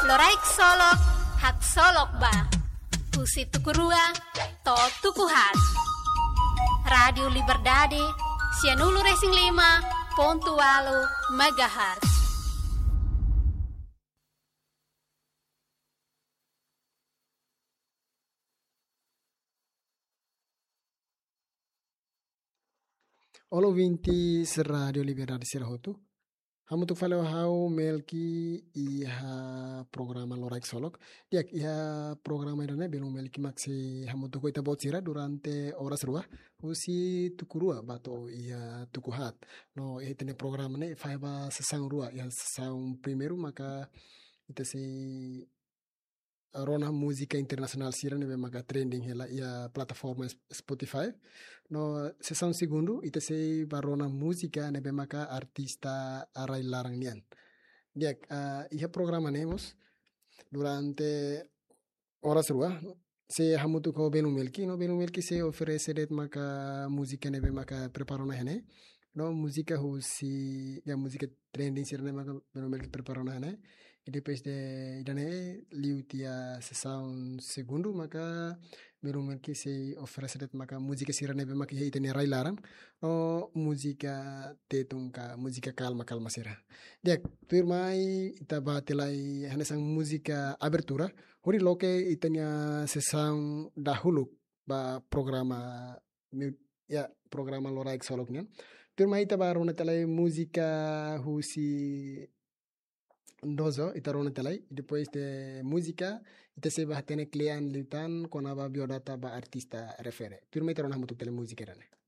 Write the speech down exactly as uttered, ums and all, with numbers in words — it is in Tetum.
Loraik Solok, haksolok ba. Husi tuku rua to'o tuku haat. Rádiu Liberdade, sianulu-resin-lima pontu ualu megahertz. Olá, ouvintes Rádiu Liberdade sira hotu. Hamutuk fali ho ha'u Melki iha programa Loraik Solok. Di'ak, iha programa ida-ne'e belun Melki mak sei hamutuk ho ita-boot sira durante oras rua, husi tuku rua ba to'o iha tuku haat. No iha ita-nia programa ne'e fahe ba sesaun rua, iha sesaun primeiru maka ita sei rona múzika internasionál sira ne'ebé maka trending hela iha plataforma Sp-, Spotify. No sesaun segundu, ita sei ba rona múzika ne'ebé maka artista rai-laran nian. Di'ak, ah, iha programa ne'e mós, durante oras rua, sei hamutuk ho belun Melki, no belun Melki sei oferese de'it maka múzika ne'ebé maka prepara ona iha ne'e. No múzika husi, ya, múzika trending sira ne'e maka belun Melki prepara ona iha ne'e. I depois de ida-ne'e, liu tiha sesaun segundu maka belun Melki sei oferese de'it maka múzika sira ne'ebé maka iha ita-nia rai-laran. No múzika Tetun ka múzika kalma-kalma sira. Di'ak, tuirmai ita bá tiha lai hanesan múzika abertura, hodi loke ita-nia sesaun dahuluk ba programa, mi-, ya, programa Loraik Solok nian. Tuirmai ita bá rona tiha lai múzika husi Dozo, ita rona tiha lai. Depois de múzika, ita sei bá hatene kle'an liután kona-ba biodata ba artista refere. Tuirmai ita rona hamutuk tiha lai múzika ida-ne'e.